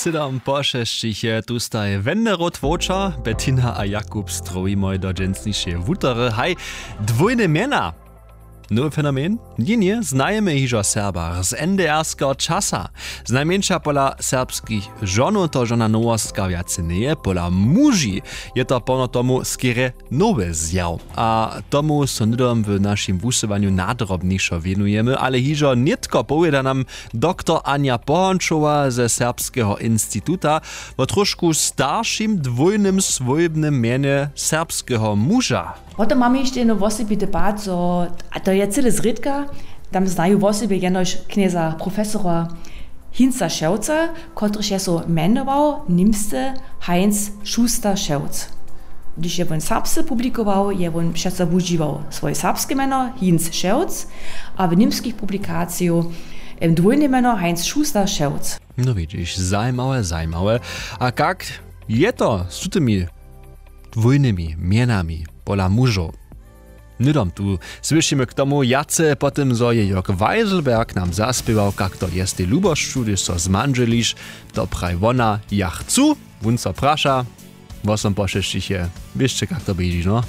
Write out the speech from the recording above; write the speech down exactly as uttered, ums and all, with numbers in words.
Sydom po šesćich je tu staj wenderot wowča, Bettina a Jakub strowimoj do dźensnišeje wutory. Haj, dwójne mjena. Nowy fenomen? Ně, ně, znajemy hižo w Serbach z N D R-skeho časa. Znajmjeńša pola serbskich žonow to žona nowostka wjace njeje, pola muži je to porno tomu skerje nowy zjaw. A tomu so hnydom w našim wusyłanju nadrobnišo wěnujemy, ale hižo nětko powěda nam doktor Anja Pohončowa ze Serbskeho instituta wo trošku staršim dwójnym swójbnym mjenje serbskeho muža. Potom mamy hišće jedno wosebity pad, zo, a to je cyle zrědka, tam znaju wosebje jenož knjeza profesora Hinza Šewca, kotryž je so mjenował nimsce Heinz Schuster Šewc. Hdyž je wón serbsce publikował, je wón přeco wužiwał swoje serbske mjeno Hinz Šewc, a w nimskich publikaciju em, dwójne mjeno Heinz Schuster Šewc. No widźiš, zajimawe, zajimawe. A kak je to z tutymi dwójnymi mjenami pola mužow? Hnydom tu słyšimy k tomu wjace, po tym zo je Jörg Weiselberg nam zaspěwał, kak to je z tej lubosću, hdyž so zmandźeliš. To praji wona: „Ja chcu.” Wón so praša, wosom po šesćich je. Wěsće, kak to běži, no?